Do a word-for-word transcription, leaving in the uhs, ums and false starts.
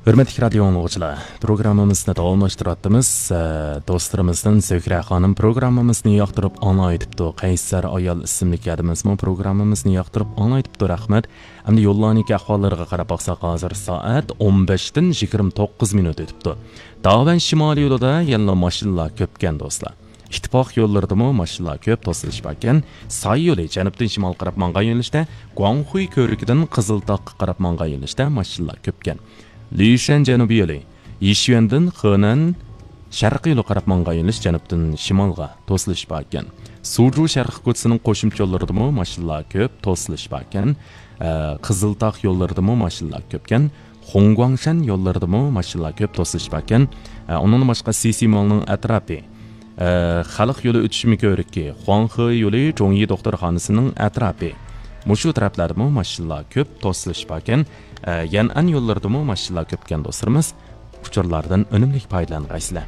ھۆرمەتلىك رادىيو ئاڭلىغۇچىلار، پروگراممىمىزنى داۋاملاشتۇرۇۋاتىمىز. ئە، دوستلىرىمىزدىن زۆھرە خانىم پروگراممىمىزنى ياقتۇرۇپ ئاڭلايتىپتۇ. قەيسەر ئايال ئىسىملىك ھەدىمىزمۇ پروگراممىمىزنى ياقتۇرۇپ ئاڭلايتىپتۇ. رەھمەت. ئەمدى يوللارنىڭكى ئەھۋاللىرىغا قاراپ باقساق، ھازىر سائەت ئون بەشتىن يىگىرمە توققۇز مىنۇت ئۆتۈپتۇ. داۋەن شىمالىي يولىدا يەنىلا ماشىنىلار كۆپكەن، دوستلار. ئىتتىپاق يوللىرىدىمۇ ماشىنىلار كۆپ، توسۇلۇش باركەن. ساي يولى جەنۇبتىن شىمالغا قاراپ ماڭغان يۆنىلىشتە، گۇاڭخۇي كۆۋرۈكىدىن قىزىلتاغقا قاراپ ماڭغان يۆنىلىشتە ماشىنىلار كۆپكەن. لىشەن جەنۇبىي يولى يىشيۈەندىن خېنەن شەرقىي يولى قاراپ ماڭغان يۆنىلىش جەنۇبتىن شىمالغا توسۇلۇش باركەن. سۇجۇ شەرقىي كوچىسىنىڭ قوشۇمچە يوللىرىدىمۇ ماشىنىلار كۆپ، توسۇلۇش باركەن. ئە، قىزىلتاغ يوللىرىدىمۇ ماشىنىلار كۆپكەن. خۇڭگۇاڭشەن يوللىرىدىمۇ ماشىنىلار كۆپ، توسۇلۇش باركەن. ئە، ئۇنىڭدىن باشقا سىسىمالنىڭ ئەتراپى، ئە، خەلق يولى ئۆتۈشمە كۆۋرۈكى، خۇاڭخې يولى جوڭيى دوختۇرخانىسىنىڭ ئەتراپى. مۇشۇ تەرەپلەردىمۇ ماشىنىلار كۆپ، توسۇلۇش باركەن. ئە، يەنئەن يوللىرىدىمۇ ماشىنىلار كۆپكەن، دوستلىرىمىز. ئۇچۇرلاردىن ئۈنۈملۈك پايدىلانغايسىلەر.